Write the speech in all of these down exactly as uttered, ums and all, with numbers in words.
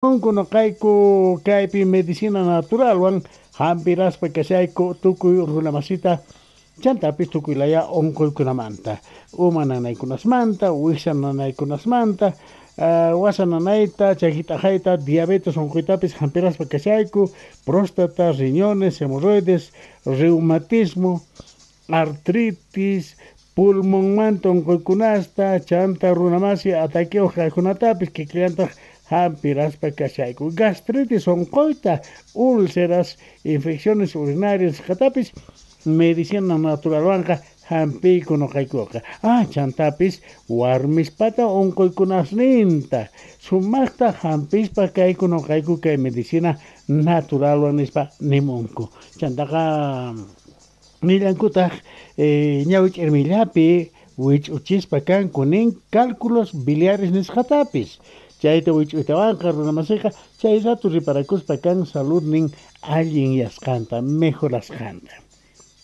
Noqayku kaypi medicina naturalwan hampiraspa kashayku tukuy runamasita chantapis tukuy laya unquykunamanta, uma nanaykunasmanta, wiksa nanaykunasmanta, wasa nanayta, chaki t'aqayta, diabetes unquytapis hampiraspa kashayku, próstata, riñones, hemorroides, reumatismo, artritis, pulmonmanta unquykunasta, chanta runamasi ataqueo kaqkunatapis kikillantaq hampiraspa kashayku, gastritis unquyta, úlceras, infecciones urinarias nisqatapis medicina naturalwanqa hampiyku noqaykuqa. Ah, chantapis warmispata unquykunasninta sumaqta hampispa kayku noqayku kay medicina naturalwan nispa nimunku. Chantaqa nillankutaq ñawi ch'irmillapi wich'uchispa kanku nin cálculos biliares nisqatapis. Chayta wich'uytawanqa runamasiqa chay rato riparakuspa kan saludnin allinyasqanta, mejorasqanta.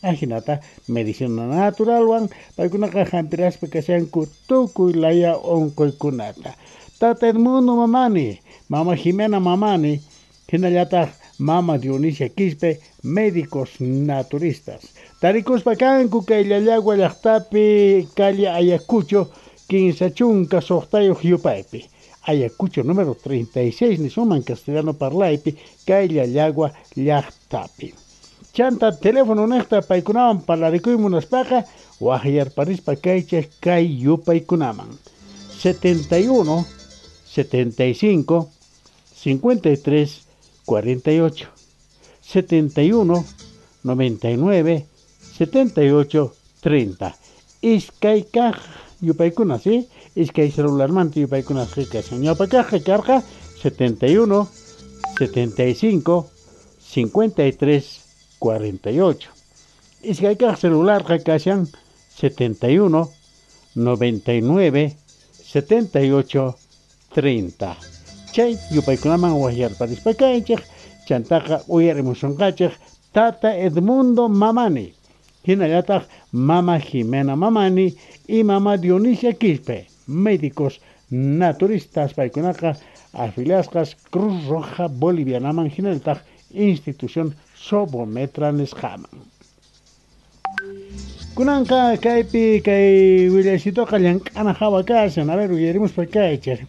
Ajinata medicina naturalwan paykunaqa hampiraspa kashanku tukuy laya unquykunata. Tata Edmundo Mamani, Mama Jimena Mamani, hinallataq Mama Dionisia Quispe, médicos naturistas. Tarikuspa kanku kay Llallagua llaqtapi calle Ayacucho, kinsa chunka suqtayuq yupaypi. Ayacucho número treinta y seis nisunman castellano parlaypi kay Llallagua llaqtapi. Chanta teléfono niqta paykunawan parlarikuy munaspaqa waqyarparispa kaychej kay yupaykunaman. setenta y uno, setenta y cinco, cincuenta y tres, cuarenta y ocho, setenta y uno, noventa y nueve, setenta y ocho, treinta. Iskay kaq yupaykuna, ¿sí? Iskay celularmanta yupaykuna kashan. Ñawpa kaq karqa setenta y uno, setenta y cinco, cincuenta y tres, cuarenta y ocho. Iskay kaq celularqa kashan setenta y uno, noventa y nueve, setenta y ocho, treinta. Chay yupaykunaman waqyarparispa kaychej, chantaqa uyarimusunqachej Tata Edmundo Mamani, hinallataq Mama Jimena Mamani y Mama Dionisia Quispe, médicos naturistas paykunaqa afiliasqas Cruz Roja Bolivianaman hinallataq institución Sobometra nisqaman. Kunanqa kaypi kay willaycitoqa llank'ana hawa kashan. A ver, uyarimuspa kaychej.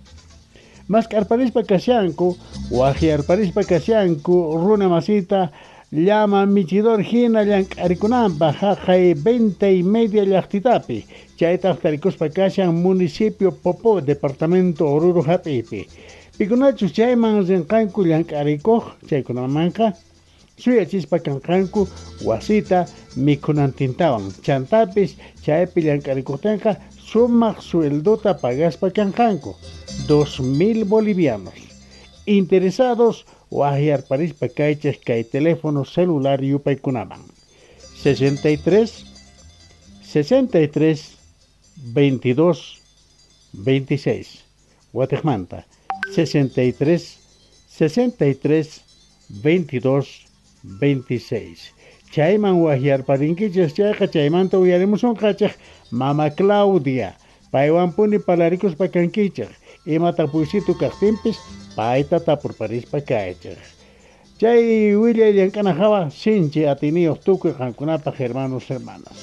Mask'arparispa kashanku, waqyarparispa kashanku, runa masita llama michidor hina llank'arikunanpaq haqay venta y media llaqtitapi. Chaytaq tarikuspa kashan municipio Popó, departamento Oruro hap'ipi. Pikunachus chayman rinqanku llank'arikuq, chaykunamanqa suyachispa kanqanku wasita mikhunantintawan. Chantapis chaypi llank'arikuqtinqa sumaq sueldota pagaspa kanqanku, dos mil bolivianos. Interesados waqyarparispa kaychej kay teléfono celular yupaykunaman. sesenta y tres, sesenta y tres, veintidós, veintiséis. Watiqmanta sesenta y tres, sesenta y tres, veintidós, veintiséis. Chayman waqyarparinkichej chayqa chaymanta uyarimusunqachej Mama Claudia. Paywanpuni parlarikuspa kankichej. Ima tapuysitu kaqtinpis payta tapurparispa kaychej. Chay willay llank'ana hawa sinchi atiniyuq tukuy qankunapaq hermanos hermanas.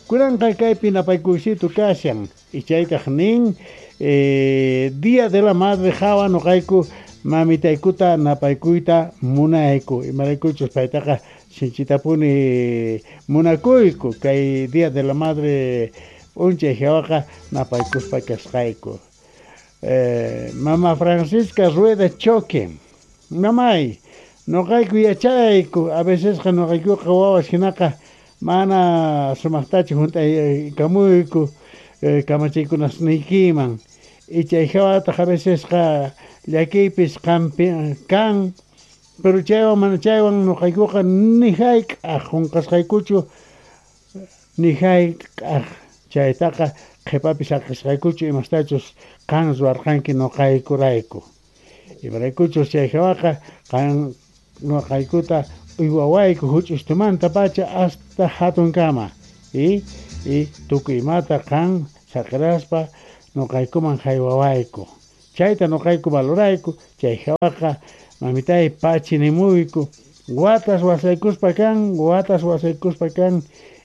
Kunanqa kaypi napaykuysitu kashan. Ichaytaq nin eh, Día de la Madre hawa noqayku mamitaykuta napaykuyta munayku. Imaraykuchus paytaqa sinchitapuni munakuyku kay Día de la Madre p'unchay hawaqa napaykuspa kasqayku. Eh, Mama Francisca Rueda Choque, mamay, noqayku yachayku, a vecesqa noqaykuqa wawas hinaqa mana sumaqtachu hunt'aykamuyku eh, kamachiykunasniykiman. Ichay hawataq a vecesqa llakiypis qampi kan, pero chaywan mana chaywan noqaykuqa ni hayk'aq qunqasqaykuchu, ni hayk'aq chaytaqa qhipapis saqisqaykuchu imastachus qan ruwarqanki noqaykurayku. Imaraykuchus chay hawaqa qan noqaykuta uywawayku huch'ustumantapacha hasta hatunkama. Y, y tukuy imata qan saqiraspa noqaykuman haywawayku. Chayta noqayku valorayku, chay hawaqa mamitay pachi nimuyku, watas wasaykuspa kan, watas wasaykuspa kan,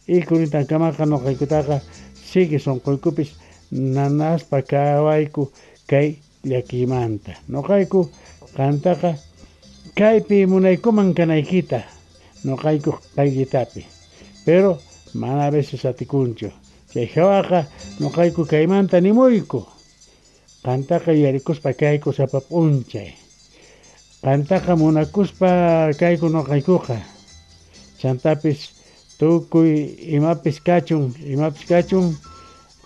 y kunitankamaqa noqaykutaqa sigue sonqoykupis nanaspa kawayku kay llakiymanta. Noqayku qantaqa kaypi munaykuman kanaykita, noqayku qayllitapi, pero mana a veces atikunchu. Chay hawaqa noqayku kaymanta nimuyku, qantaqa yuyarikuspa kayku sapa p'unchay. Qantaqa munakuspa kayku noqaykuqa. Chantapis tukuy imapis kachun, imapis kachun,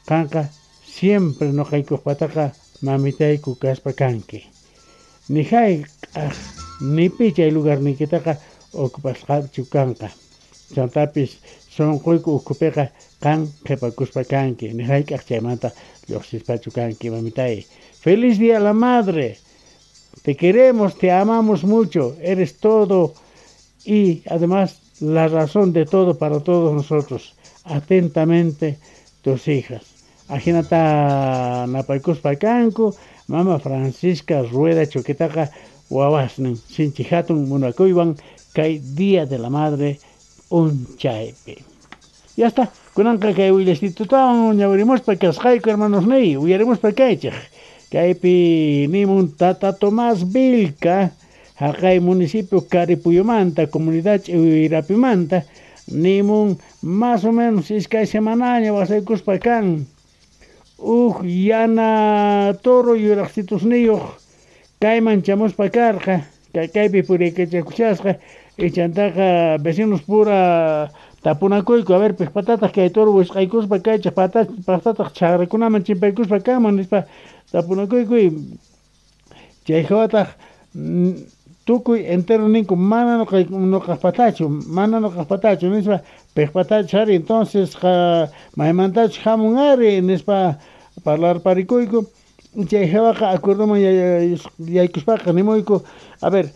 qanqa siempre noqaykupataqa mamitayku kaspa kanki. Ni hayk'aq ni pi chay lugarniykitaqa ocupasqachu kanqa. Chantapis sonqoyku ukhupiqa qan qhipakuspa kanki, ni hayk'aq chaymanta lluqsispachu kanki, mamitay. Feliz Día a la Madre. Te queremos, te amamos mucho, eres todo y además la razón de todo para todos nosotros. Atentamente, tus hijas. Ajinata napaykuspa kanku, mama Francisca Rueda Choquetaqa wawasnin, sinchi hatun munakuywan kay Día de la Madre p'unchaypi. Ya está, kunanqa kay willasitutawan ñawirimuspa kasqayku, hermanos niy, uyarimuspa kaychej. Kaypi nimun Tata Tomás Vilca, haqay municipio Caripuyumanta, comunidad Ch'iwirapimanta, nimun más o menos iskay semanaña wasaykuspa kan. Uj yana toro yuraqsitusniyuq kayman chamuspa karqa, kaypi puriykachakushasqa, ichantaqa vecinos pura tapunakuyku, a ver, piqpatataq kay toro wisq'aykuspa kaychej, paqtataq chaqrakunaman chimpaykuspa kanman nispa tapunakuyku. Chay hawataq tukuy entero ninku mana noqaqpatachu, mana noqaqpatachu nispa piqpatachu ari, entonces maymantachus hamun ari nispa parlarparikuyku. Chay hawaqa acuerdoman yaykuspaqa nimuyku, a ver,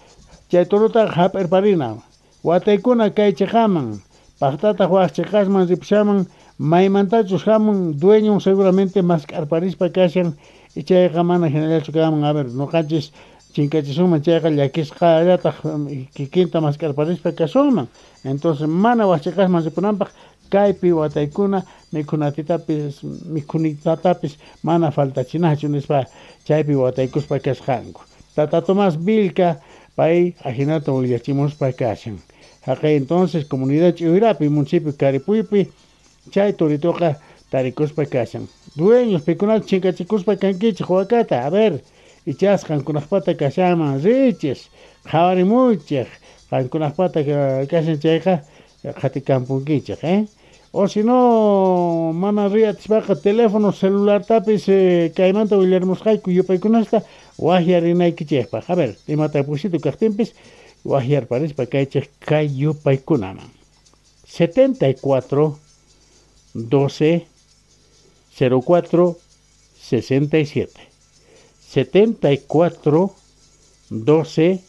chay torotaqa hap'irparina, wataykuna kay chiqaman, paqtataq waq chiqasman ripushaman, maymantachus hamun dueño seguramente mask'arparispa kashan, chayqa mana hinallachu kanman. A ver, noqanchis chinkachisunman chayqa llakisqallataq kikinta mask'arparispa kasunman. Entonces mana waq chiqasman ripunanpaq kaypi wataykuna mikhunatitapis mikhunitatapis mana faltachinachu nispa chaypi wataykuspa kasqanku. Tata Tomás Vilca pay ajinata willachimuspa kashan. Haqay entonces comunidad Ch'iwirapi, municipio Caripuypi, chay toritoqa tarikuspa kashan. Dueños pikunata chinkachikuspa kankichej wakata, a ver, ichas qankunaqpata kashanman richis, qhawarimuychej, qankunaqpata kashan chayqa qhatikampunkichej, eh? O si no, mana riyatispaqa teléfono celulartapis eh, kaymanta willarimusqayku yupaykunasta waqyarinaykichejpaq. A ver, imata pusito kaqtinpis waqyarparispa kaychej kay yupaykunaman. setenta y cuatro, doce, cero cuatro, sesenta y siete. setenta y cuatro, doce,